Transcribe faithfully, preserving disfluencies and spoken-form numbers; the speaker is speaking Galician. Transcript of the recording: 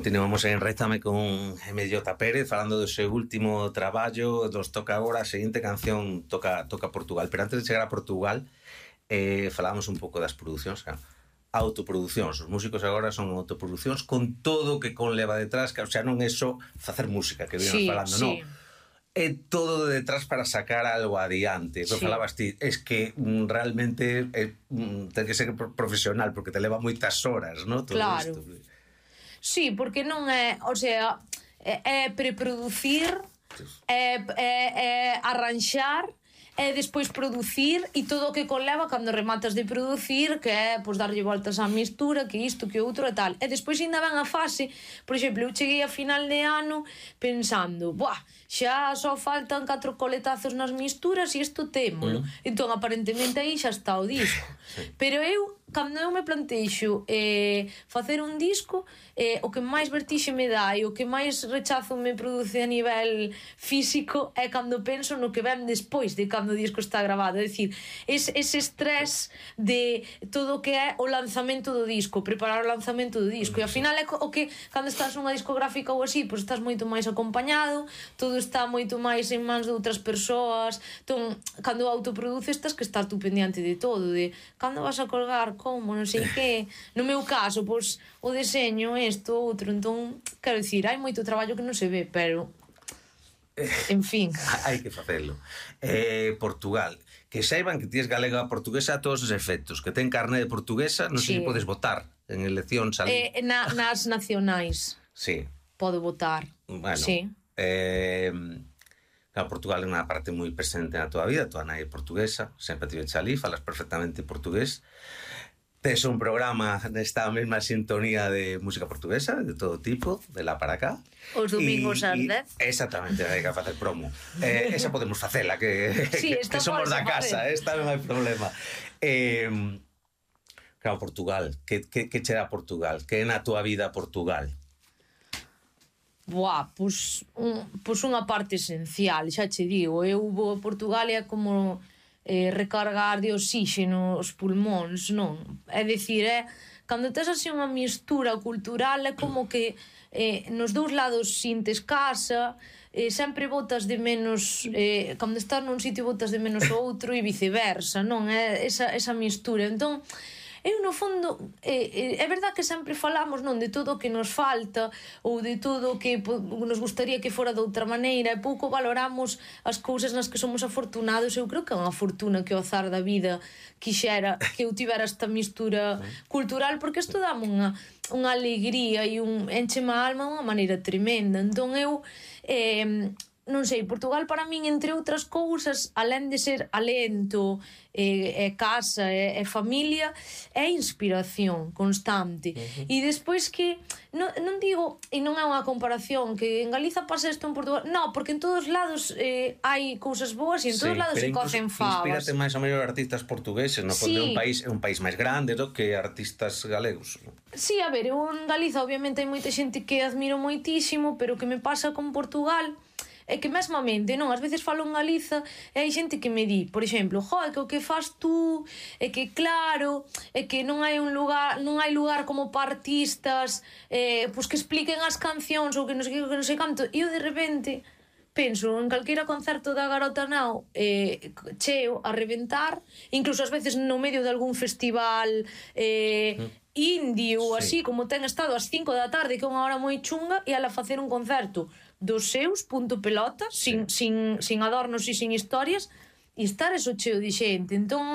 Continuamos en Rézame con Emellota Pérez falando do seu último traballo. Nos toca agora a seguinte canción, toca, toca Portugal. Pero antes de chegar a Portugal, eh, falamos un pouco das producións, claro. Autoproducións, os músicos agora son autoproducións con todo o que conleva detrás, que, o sea, non é só facer música que vienes sí, falando, sí. non. É todo de detrás para sacar algo adiante. Sí. Falabas ti, es que mm, realmente é, mm, ten que ser profesional porque te leva moitas horas, non? Todo claro. Isto. Sí, porque non é, o sea, é, é preproducir, é, é, é arranxar, e despois producir e todo o que conleva cando rematas de producir, que é pois, darlle voltas á mistura, que isto, que outro e tal. E despois ainda ven a fase, por exemplo, eu cheguei a final de ano pensando, buah, xa só faltan catro coletazos nas misturas e isto témolo. Mm. Entón, aparentemente aí xa está o disco. Sí. Pero eu, cando eu me planteixo eh, facer un disco, eh, o que máis vertixe me dá e o que máis rechazo me produce a nivel físico é cando penso no que ven despois de cando o disco está grabado. É dicir, ese, ese estrés de todo o que é o lanzamento do disco, preparar o lanzamento do disco. E ao final é o que, cando estás nunha discográfica ou así, pois estás moito máis acompañado, todo está moito máis en mans de outras persoas. Entón, cando autoproduces, estás que estás tú pendiente de todo, de cando vas a colgar, como, non sei que. No meu caso, pois, o deseño, isto, outro. Entón, quero dicir, hai moito traballo que non se ve, pero en fin. Hai que facelo. Eh, Portugal, que saiban que tienes galega portuguesa a todos os efectos, que ten carné de portuguesa, non sei se podes votar en eleccións ali. Eh, na, nas nacionais. Sí. Podo votar. Bueno. Sí. Eh, claro, Portugal é unha parte moi presente na tua vida, tua nai é portuguesa, sempre tiveche ali, falas perfectamente portugués. Tes un programa nesta mesma sintonía de música portuguesa, de todo tipo, de lá para acá. Os domingos ás dez. Exactamente, hai que facer promo. Eh, esa podemos facela, que, sí, que, que somos da casa, esta non hai problema. Eh, claro, Portugal, que, que, que che dá Portugal? Que é na tua vida Portugal? Buah, pois, un, pois unha parte esencial, xa che digo. Eu vou a Portugal e é como eh, recargar de oxígeno os pulmóns, non? É dicir, é, cando tes así unha mistura cultural é como que eh, nos dous lados sintes casa, eh, sempre botas de menos, eh, cando estás nun sitio botas de menos o outro e viceversa, non? É esa, esa mistura. Entón, eu no fondo eh, é verdad que sempre falamos, non, de todo o que nos falta ou de todo o que nos gustaría que fora de outra maneira, e pouco valoramos as cousas nas que somos afortunados. Eu creo que é unha fortuna que o azar da vida quixera que eu tivera esta mistura cultural, porque isto dame unha, unha alegría e un enche-me a alma de unha maneira tremenda. Entón eu eh, non sei, Portugal para min, entre outras cousas, alén de ser alento, é, é casa, é, é familia, é inspiración constante. Uh-huh. E despois que non, non digo, e non é unha comparación, que en Galiza pasa isto en Portugal, non, porque en todos lados eh, hai cousas boas e en todos sí, lados se cocen favas. Inspírate máis ou mellor artistas portugueses, non? Porque sí. é un país é un país máis grande do que artistas galegos. Sí, a ver, eu en Galiza obviamente hai moita xente que admiro moitísimo, pero o que me pasa con Portugal é que mesmamente, non, ás veces falo en Galiza e hai xente que me di, por exemplo, jo, é que o que fas tú, é que claro, é que non hai un lugar, non hai lugar como para artistas eh, pois que expliquen as cancións ou que non sei que, que non sei canto, e eu de repente penso en calquera concerto da Garota Nao eh, cheo a reventar, incluso ás veces no medio de algún festival eh, mm. indio ou sí. así, como ten estado ás cinco da tarde, que é unha hora moi chunga, e ala facer un concerto dos seus, punto pelota, sí. sin, sin, sin adornos e sin historias, e estar eso cheo de xente. Entón